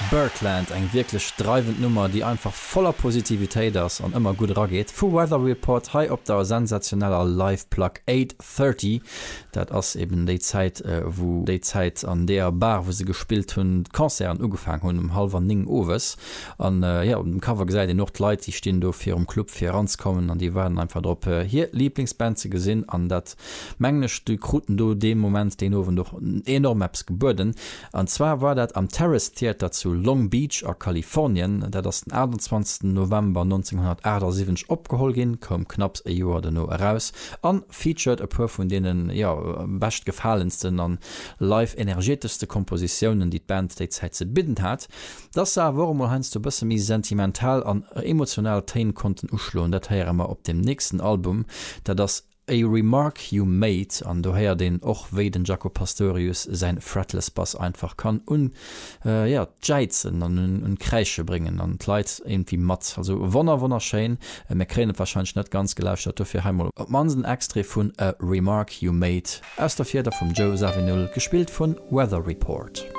Birdland, eng wierklech dreiwend Nummer, déi einfach voller Positivitéit ass an ëmmer gutt erageet, vu Weather Report hei op der sensationeller Live-Plack 8:30. Dat ass eben déi Zäit, wou déi Zäit an deeër Bar, wou se gespillt hunn, d'Concerten ugefaang hunn, um hallwer 9 owes. An jo, op dem Cover gesäit een och d'Leit, déi stinn do virum Club fir eranzekommen an déi waarden einfach drop, hir Liblingsband ze gesinn. An dat mengen ech, déi kruten do dee Moment, deen Owend och enorm eppes gebueden. An zwar war dat am Terrace Theater zu Long Beach a Kalifornien. Dat ass den 28 November 1978 opgeholl ginn, koum knapps e Joer dono eraus an featured e puer vun deenen, jo, beschtgefalensten an live energeteschste Kompositiounen, déi d'Band déi Zäit ze bidden hat. Dass se awer och emol heiansdo e bësse méi sentimental an emotional Téin konnten uschloen, dat héiere mer op dem nächsten Album. Dat ass A Remark You Made an do héiert een och wéi den Jaco Pastorius säin Fretless Bass einfach kann un jo d'Jäizen an un d'Kräische bréngen an d'Leit iergendwéi mat. Also wonner wonnerschéin. Mir kréien et warscheinlech net ganz gelauschtert, dofir hei mol op d'mannst en Extrait vun A Remark You Made aus der Fieder vum Joe Zawinul, gespillt vun Weather Report.